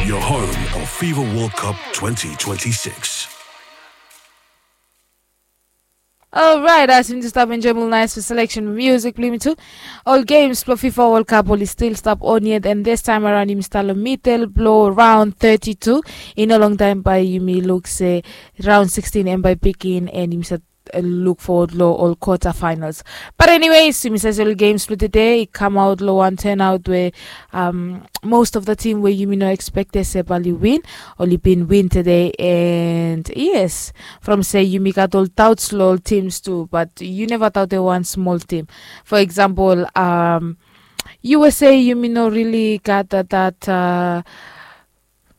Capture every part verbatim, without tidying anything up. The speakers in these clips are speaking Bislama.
Your home of FIFA World Cup twenty twenty-six. Alright, as yumi just stap enjoy mul nice for selection music blong yumi tu. Ol games blong FIFA World Cup oli stil stap on yet, and this time around yumi stap long middle blong round thirty-two. I no long taem bae yumi luk se round sixteen hem bae bigin, and yumi stap luk fowod long ol quarter finals. But anyways, yumi save se ol games blong tede i kamaot long wan turnout we um, most of the team we yumi no expect se bae oli win, oli bin win tede. And yes, from se yumi gat ol doubts long ol teams tu, but yu neva doubt wan small team. For example, um, usa, yumi no really gat that, that uh,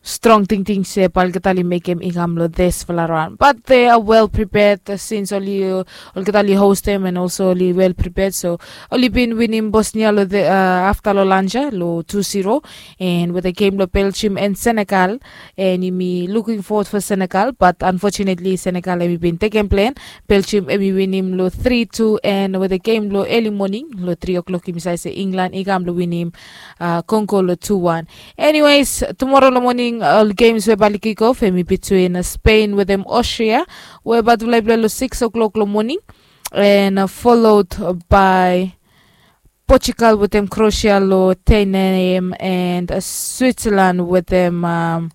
strong tingting se bae olgeta oli mekem i kam long disfala raon, but they are well prepared, uh, since oli uh, olgeta oli hostem and also oli well prepared. So oli bin winim Bosnia long the uh, afta long lanja long two zero, and wetem game long Belgium and Senegal, and yumi looking forward for Senegal, but unfortunately Senegal hemi bin tekem plen. Belgium hemi winim long three two, and wetem game long early morning long three o'clock yumi save se England i kam long winim uh, Congo long two one. Anyways, tumora long moning ol games we bae oli kick off hemi between uh, Spain wetem Austria, we bae oli play long six o'clock long moning, and uh, followed by Portugal wetem Croatia long ten a.m. and uh, Switzerland wetem um,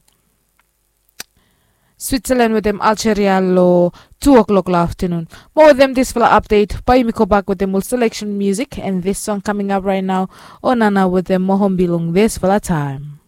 Switzerland wetem Algeria long two o'clock long aftanun. Mo wetem disfala update bae yumi go bak wetem ol selection music, and this song coming up right now, Onana wetem Mohombi long disfala taem.